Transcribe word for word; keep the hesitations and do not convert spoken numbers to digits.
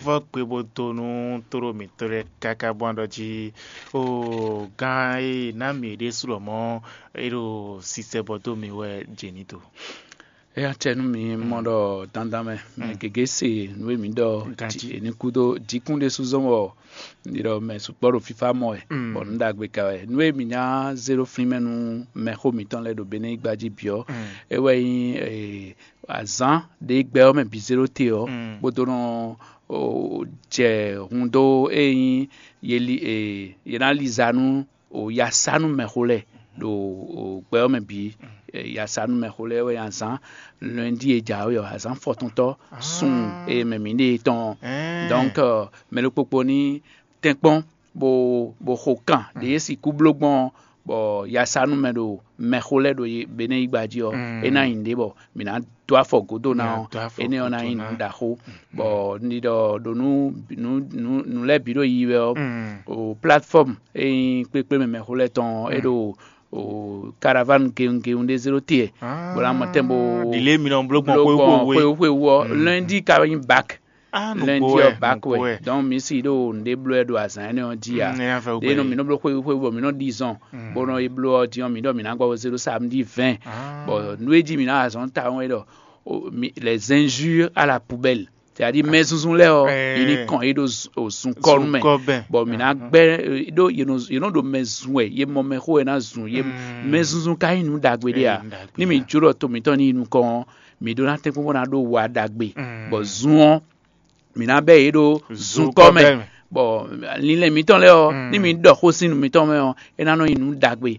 Vɔ́ gbe bó dó nú tóɖó mǐtɔn lɛ́ɛ káká bó ná ɖɔ jí, o gán e ná mǐ ɖésú lɔmɔ̌ é ɖo sisɛ bɔ dó mǐ wɛ jě ní do. Éyɛ́ acɛ nú mi mɔ ɖɔ dandan mɛ mɛ gěgé se nǔ e mǐ ɖɔ. Ganjí. Ní kúdó díkún ɖésú zɔ́n bɔ ɖi ɖɔ mɛ sukpɔ́ ɖo fífá mɔ wɛ, bɔ nǔ ɖagbe ka wɛ. Nǔ e mǐ ná zé ɖó flín mɛ nú mɛxó mǐtɔn lɛ́ɛ ɖo Benɛ́ gbá jí bǐ ɔ́, é wɛ nyí azǎn ɖě gbɛ ɔ́ mɛ bǐ zé ɖó te ɔ́, bó dó nɔ jɛ hun dó ée nyí ye ná liza nú yasanú mɛxó lɛ́ɛ ɖo gbɛ ɔ́ mɛ bǐ. Yasanú mɛxó lɛ́ɛ wɛ azǎn lɔndí e jǎwe ɔ́, azǎn fɔtɔntɔ́ sun e mɛ mǐ ɖe tɔn ɔ́. Donc mɛ ɖokpokpo ní tɛ́nkpɔ́n bó bó xo kan ɖě e sixú bló gbɔn ɔ́, bɔ yasanú mɛ ɖo mɛxó lɛ́ɛ ɖo Benɛ́ yígba jí ɔ́, é ná nyi nǔɖé bɔ mǐ ná dó afɔ gǒdo ná ɔ́, énɛ́ ɔ́ ná nyí nǔ ɖaxó. Bɔ un ɖi ɖɔ ɖo nú nǔ lɛ́ɛ bǐ ɖo yiyi wɛ ɔ́, o platform e nyí kplékplé mɛ mɛxó lɛ́ɛ tɔn ɔ́, é ɖo o caravane gewungewun ɖé zé ɖó te, bó ná mɔ tɛn bó ɖi lě mi nɔ bló gbɔn xwéwú xwéwú ɔ́. Lundi ka nyí bak. Lundi ɔ́ bak wɛ. Donc mi si ɖo nǔɖé bló wɛ ɖo azǎn énɛ́ ɔ́ jí a? Ɖé nɔ mi nɔ bló xwéwú xwéwú bɔ mi nɔ ɖi zɔn, bó nɔ yi bló ɔ́ din ɔ́, mi ɖɔ mi ná gbɔ zé ɖó samedi vingt. Bɔ nú e jí mi ná azɔn tawun é ɖɔ les injures à la poubelle. C'est-à-dire mɛ zunzun lɛ́ɛ ɔ́, yě ní kɔn yě ɖo zunkɔnu mɛ. Bɔ mǐ ná gbɛ́ ɖó yě nɔ ɖo mɛ zun wɛ, yě mɔ mɛ xó wɛ ná zun yě. Mɛ zunzun ka nyí nǔ ɖagbe ɖé a? Ní mǐ jó ɖɔ to mǐtɔn ní yi nukɔn ɔ́, mǐ ɖó ná tɛ́nkpɔ́n bó ná ɖó wa ɖagbe. Bɔ zun ɔ́, mǐ ná bɛ́ yě ɖó zunkɔ mɛ. Bɔ linlɛn mǐtɔn lɛ́ɛ ɔ́, ní mǐ ɖɔ xó sín nǔ mǐtɔn mɛ ɔ́, é ná nɔ nyí nǔ ɖagbe.